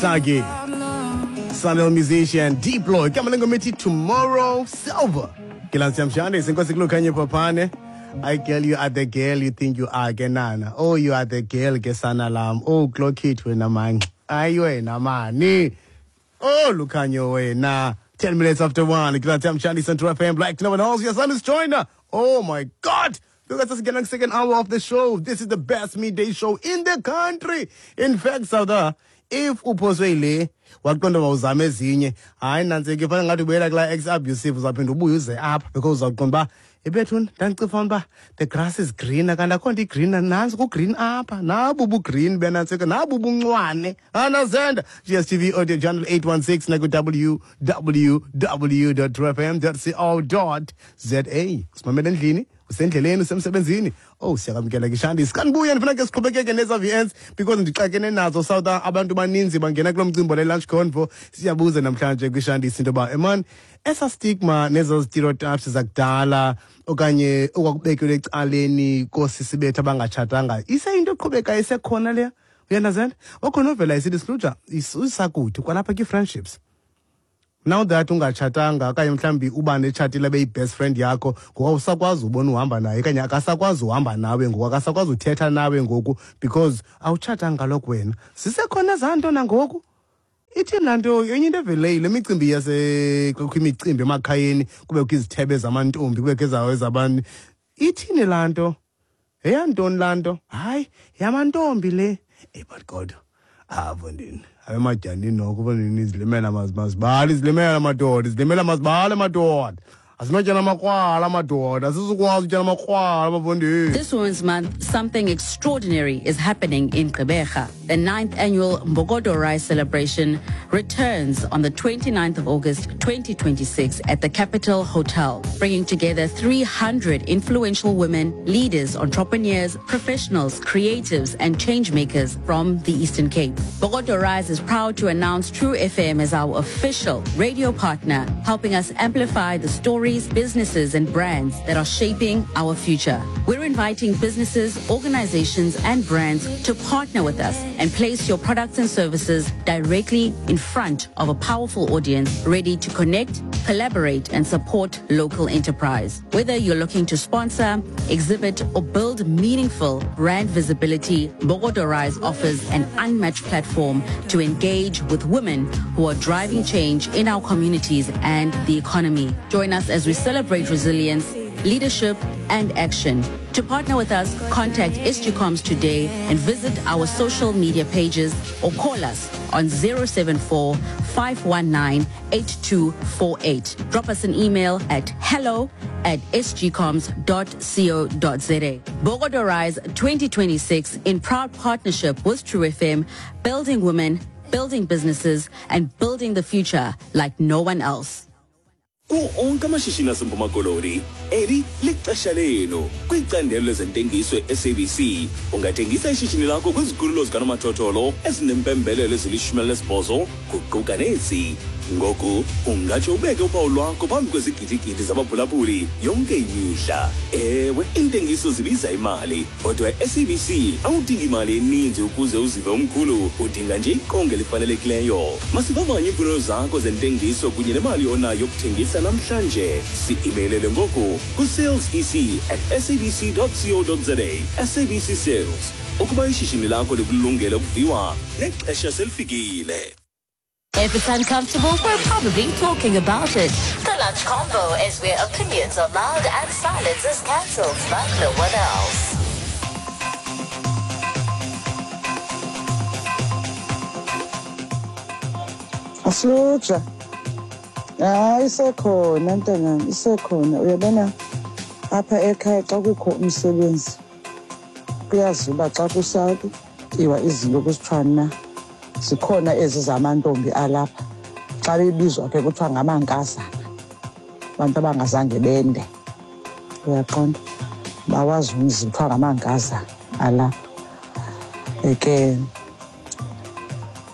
Sagi. Sunil musician Diplo. Igama lengoma ethi Tomorrow Silver. Ke Mshane senkosi kulokhanye Papane. I girl you are the girl you think you are ke nana. Oh you are the girl ke sana lam. Oh clock it wena man. Ayi wena mani. Oh Lukhanyo wena. 10 minutes after 1. Ke Mshane Central FM Black no one else. Your son is joiner. Oh my God. Look at us getting second hour of the show. This is the best midday show in the country. In fact, Sauda, if uphoswe yile waqonda uba uzame ezinye, hayi nantsike fanele ngathi ubuyela kulaa ex abusive, uzawuphinda ubuye uze apha because uzawuqonda uba ebethuni ndandicifa uba the grass is greener kanti akho nto igreener, nantsi kugreen apha, nabu bugreen benantsike, nabu buncwane anazenda. GSTV audio channel 816 naku-www.trfm.co.za. Simamele endlini, usendleleni, usemsebenzini. Oh, siyakwamkela ke Shandis. Kandibuye ndifuna ke siqhubekeke neza VNs because ndixakene nazo South. Abantu baninzi bangena kulo mcimbi le lunch convo. Siyabuza namhlanje kwiShandis into yoba eman esa stigma nezo stereotypes zakudala okanye okwakubekelwe ecaleni koosisi bethu abangatshatanga iseyinto eqhubekayo isekhona leya. Uyandazela? Wakhona ovela isithi Sluja isakude kwalapha kii-friendships. Now that ungatshatanga okanye mhlawumbi uba netshatile abe yi-best friend yakho, ngoku awusakwazi ubona uhamba naye okanye akasakwazi uhamba nawe ngoku, akasakwazi uthetha nawe ngoku because awutshatanga kaloku wena. Zisekhona ezaa nto nangoku? Ithini laa nto? Enye into eveleyo le micimbi yase kukho imicimbi emakhayeni, kubekho izithebe zamantombi, kubekho ezawo ezabantu. Ithini laa nto? Yeyantoni laa nto? Hayi, yamantombi le. Eyi but kodwa apho ndini abemajanini noko mfondini, izilimela mazibale, izilimela madoda, izilimela mazibale madoda, asinotyana amakrwala madoda, asizukwazi utyana amakrwala bafondini. This Women's Month, something extraordinary is happening in Gqeberha. The 9th annual Mbokodo Rise celebration returns on the 29th of August 2026 at the Capital Hotel, bringing together 300 influential women, leaders, entrepreneurs, professionals, creatives, and changemakers from the Eastern Cape. Mbokodo Rise is proud to announce True FM as our official radio partner, helping us amplify the stories, businesses, and brands that are shaping our future. We're inviting businesses, organizations, and brands to partner with us and place your products and services directly in front of a powerful audience ready to connect, collaborate, and support local enterprise. Whether you're looking to sponsor, exhibit, or build meaningful brand visibility, Mbokodo Rise offers an unmatched platform to engage with women who are driving change in our communities and the economy. Join us as we celebrate resilience, leadership, and action. To partner with us, contact SGComs today and visit our social media pages or call us on 074 519 8248. Drop us an email at hello@sgcoms.co.za. Mbokodo Rise 2026 in proud partnership with True FM, building women, building businesses, and building the future like no one else. Kuwo onke amashishini aseMpuma Koloni, eli lixesha lenu. Kwicandelo lezentengiso e-SABC, ungathengisa ishishini lakho kwizikhululo zikanomathotholo ezinempembelelo ezili-18, kuquka nezi. Ngoku ungatsho ubeke uphawu lwakho phambi kwezigidigidi zabaphulaphuli yonke imihla. Ewe, iintengiso zibiza imali, kodwa e-SABC awudingi imali eninzi ukuze uzive umkhulu, udinga nje iqonga elifanelekileyo. Masivavanye iimfuno zakho zentengiso kunye nemali onayo yokuthengisa namhlanje. Si-imeylele ngoku ku-salesec@sabc.co.za. SABC Sales, ukuba ishishini lakho likulungele ukuviwa, nexesha selifikile. If it's uncomfortable, we're probably talking about it. The Lunch Convo is where opinions are loud and silence is cancelled like no one else. Asluja. Hayi, isekhona ntangam, isekhona. Uyabona apha ekhaya xa kukho umsebenzi kuyaziwa uba xa kusatyiwa izinto kusithiwa na zikhona ezi zamantombi alapha, xa bebizwa ke kuthiwa ngamankazana, abantu abangazange bende, uyaqonda, bawazi umzi, kuthiwa ngamankazana alapha ke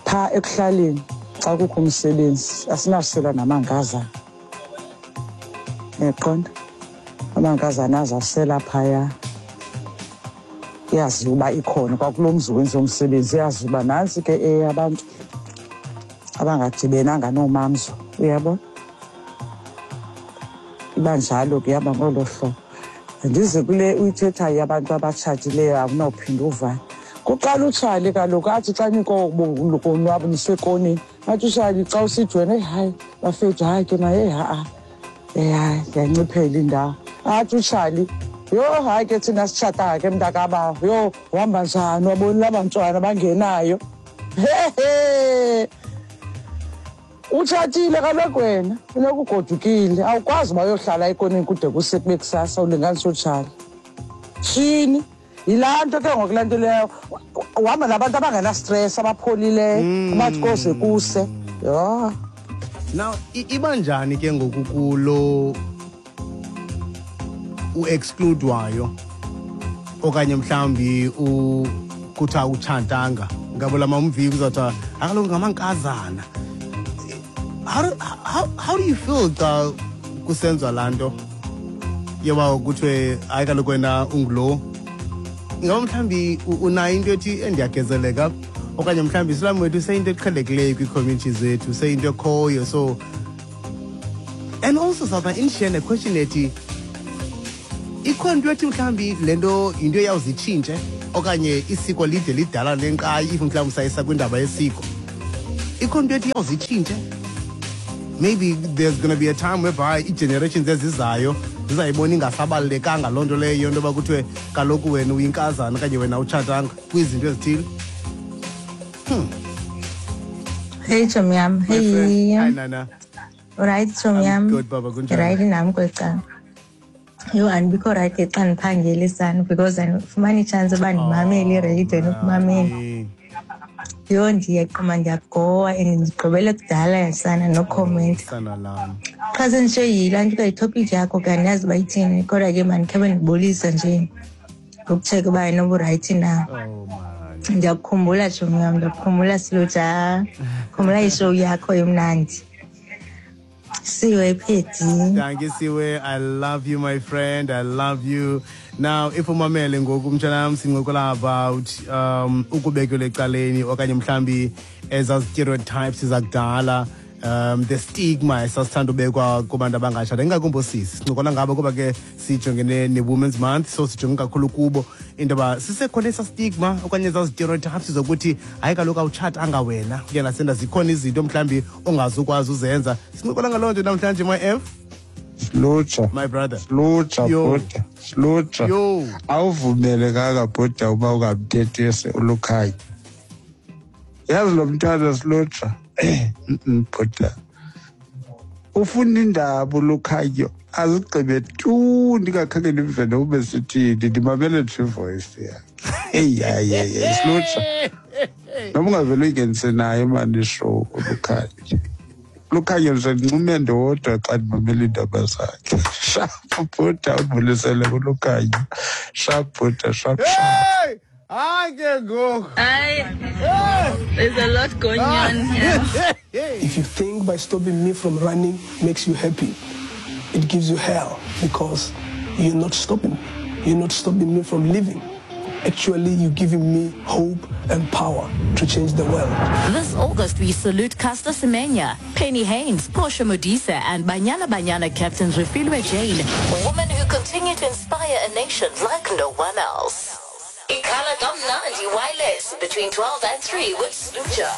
phaa ekuhlaleni. Xa kukho umsebenzi asinawusela namankazana, uyaqonda, amankazana azawusela phaya. Yaziwa uba ikhona kwakulo mzi wenziwa umsebenzi, yaziwa uba nantsi ke eyabantu. Abangadibenanga noomamzo, uyabona? Iba njalo ke, ihamba ngolo hlobo. Ndize kule uyithethayo abantu abatshatileyo, awunawuphinda uvane. Kuqala utshali kaloku athi xa nikonwabo nisekonini, athi utshali xa usithi wena, eyi hayi bafethu, hayi ke ma, eyi ha-a, eyi hayi ndiyanciphela indawo. Athi utshali, yho hayi ke thina sitshatanga ke mntakabawo, yho uhamba njani wabonile abantwana bangenayo. Hehe, utshatile kaloku wena, funeka ugodukile, awukwazi uba uyohlala ekoneni kude kuse kube kusasa ulinganisa utshali. Tshini, yilaa nto ke ngoku laa nto leyo, uhamba nabantu abangenastress, abapholileyo, abathi koze kuse. Yho. Now iba njani ke ngoku kulo u-exclude-wayo okanye mhlawumbi kuthiwa utshatanga, ngabo la mamviki kuzawuthiwa akaloku ngamankazana? How do you feel xa kusenziwa laa nto yoba kuthiwe hayi kaloku wena ungulo? Ingaba mhlawumbi unayo into ethi endiyagezeleka, okanye mhlawumbi isilamu wethu seyinto eqhelekileyo kwii-community zethu, seyinto ekhoyo? So and also sawuba indishiye ne-question ethi ikhona into ethi mhlawumbi le nto yinto eyawuzitshintshe, okanye isiko lide lidala lenkqayi, if mhlawumbi sayisa kwindaba yesiko, ikhona into ethi iyawuzitshintshe? Maybe there's gonna be a time whereby ii-generations ezizayo zizayibona ingasabalulekanga loo nto leyo, into yoba kuthiwe kaloku wena uyinkazana okanye wena utshatanga kwizinto ezithile. Hey chomi yam, My friend. Hey. Hi Nana. Right chomi I'm yam. good baba, kunjani? Right nam kweli cala. Yho, andibikho right xa ndiphangeli sana because andifumani itshansi yoba ndimamele iradio nokumamela. Hayi. Yho, ndiyaqoma ndiyagowa and ndigqibele kudala sana nokhomenta. Sana lam. Qha senditsho yilaa nto itopic yakho ke, andiyazi uba ithini, kodwa ke mandikhabe ndibulisa nje ngokutsheka uba inoba urayithi na. Oh man. Ndiyakukhumbula tshomi yam, ndiyakukhumbula Siluja, khumbula ishow yakho emnandi. Siwe Phedi. Thank you, Siwe. I love you, my friend. I love you. Now, if umamele ngoku mtshanam, sincokola about ukubekelwa ecaleni okanye mhlambi ezaa stereotypes zakudala, the stigma esasithanda ubekwa kubantu abangatshata, ingakumbi oosisi. Sincokola ngabo kuba ke sijongene ne-Women's Month, so sijonge kakhulu kubo into yoba sisekhona esa stigma okanye ezaa stereotypes zokuthi hayi kaloku awutshatanga wena, uyandasenda, zikhona izinto mhlawumbi ongazukwazi uzenza. Sincokola ngaloo nto namhlanje, my F. Lutsha. My brother. Lutsha. Yo. Bhuda, Lutsha. Yo. Awuvumelekanga bhuda uba ungamthethisi uLukhanyo. Yazi lo mntwana Silutsha, bhuda, ufuna indaba uLukhanyo azigqibe tu, ndingakhange ndimve nobe sithini, ndimamele nje ivoice yakhe. Eyi hayi hayi, Silutsha, noma ungavele uyingenise naye mani ishow uLukhanyo. Lukhanyo nje ndincume ndodwa xa ndimamela iindaba zakhe. Sharp bhuda, undibulisele kuLukhanyo. Sharp bhuda, sharp sharp. Hey! Hayi ke ngoku. Hi. There's a lot going on here. If you think by stopping me from running makes you happy, it gives you hell because you're not stopping me. You're not stopping me from living. Actually, you're giving me hope and power to change the world. This August, we salute Caster Semenya, Penny Haynes, Portia Modise, and Banyana Banyana captains Refilwe Jane. Women who continue to inspire a nation like no one else. Ikhala Kamnandi Wireless between 12 and 3 with Sluja.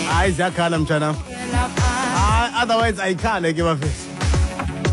Hayi, ziyakhala mtshanam. Hayi, otherwise ayikhale ke bafethu.